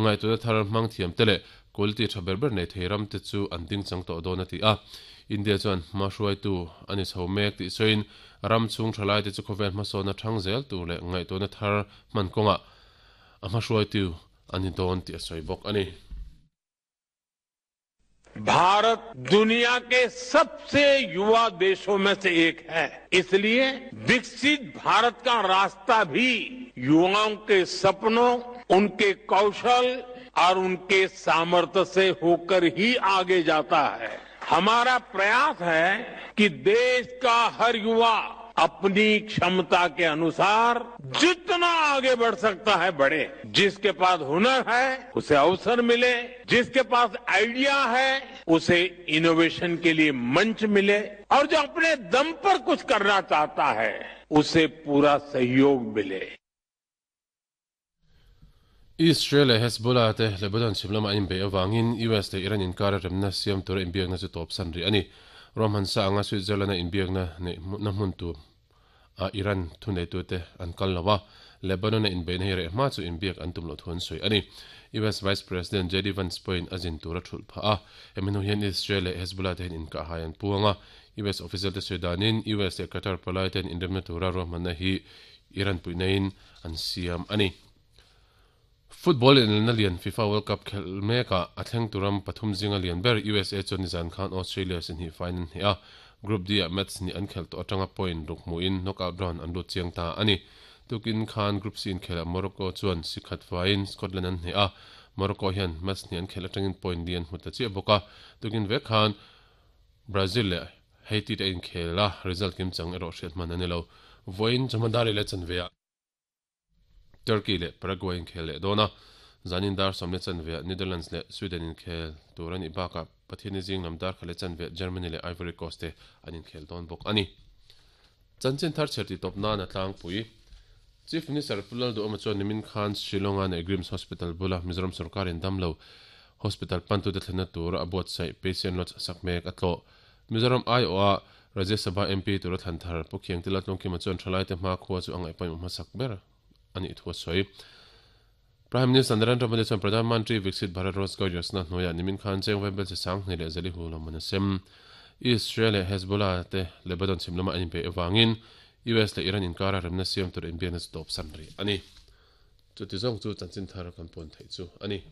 Ngaihtuahna thar hmang thiam te leh quality tha ber ber nei thei ram te chu an ding chang tawh dawn a ti a. India chuan hma hruaitu a ni chho mek tih sawiin ram chhung thalai te chu khawvel hmasawnna thang zel tur leh ngaihtuahna thar hman kawngah a hma hruaitu a ni dawn tih a sawi bawk a ni. Bharat दुनिया के सबसे युवा देशों में से एक है इसलिए विकसित भारत का रास्ता भी युवाओं के सपनों उनके कौशल और उनके सामर्थ्य से होकर ही आगे जाता है हमारा प्रयास है कि देश का हर युवा अपनी क्षमता के अनुसार जितना आगे बढ़ सकता है बढ़े जिसके पास हुनर है उसे अवसर मिले जिसके पास आइडिया है उसे इनोवेशन के लिए मंच मिले और जो अपने दम पर कुछ करना चाहता है उसे पूरा सहयोग मिले Israel leh Hezbollah te Lebanon chhim lamah an inbeih avangin US leh Iran inkara remna siam tura inbiakna chu tawpsan rih a ni. Ruahmansa anga Switzerland-a inbiakna neih na hmun tur ah Iran thuneitute an kal lo a, Lebanon-a inbeihna hi reh hma chu inbiak an tum loh thu an sawi a ni. US Vice President JD Vance pawhin a zin tur a thulh phah a, hemi hnu hian Israel leh Hezbollah te hian inkahhai an puang a, US official te sawi danin US leh Qatar palai ten inremna tura ruahmanna hi Iran puihnain an siam a ni. Football inelna lian FIFA World Cup khelh mekah a thleng tur ram pathum zinga lian ber USA chuan nizan khan Australia si hnih faiin an hneh a, Group D-ah match hnih an khelh tawh atanga point ruk hmuhin knockout round an lut chiang ta a ni. Tukin khan Group C inkhelhah Morocco chuan si khat faiin Scotland an hneh a, Morocco hian match hnih an khelh atangin point li an hmu ta chiah bawk a, tukin vek khan Brazil leh Haiti te a inkhel a, result kimchang erawh hriat hman a ni lo. Vawiin chawhma dar leh chanveah Turkey leh Paraguay inkhel leh dawn a, zanin dar sawmle chanveah Netherlands leh Sweden inkhel tur a nih bakah Pathianni zing lam dar khat leh chanveah Germany leh Ivory Coast te an inkhel dawn bawk a ni. Chanchin thar chher tih tawp nan a tlangpui. Chief Minister Pu Lalduhawma chuan nimin khan Shillong-a neih Grims Hospital bula Mizoram sorkarin damlo Hospital pantute thlenna tur a buatsaih Patient Lodge sak mek a tlawh. Mizoram aiawha Rajya Sabha MP tura thlan thar Pu Khiangte Laltlungkima chuan thalaite hmakhua chu a ngaihpawimawh hmasak ber a nih thu a sawi. Prime Minister Narendra Modi chuan Pradhan Mantri Viksit Bharat Rozgar Yojana hnuaiah nimin khan cheng vaibel chi 20 leh zali hu lawmman a sem. Israel leh Hezbollah te Lebanon chhim lamah an inbeih avangin US leh Iran inkara remna siam tur inbiakna chu tawpsan rih a ni. Chuti zawng chu chanchin thar kan puan theih chu a ni.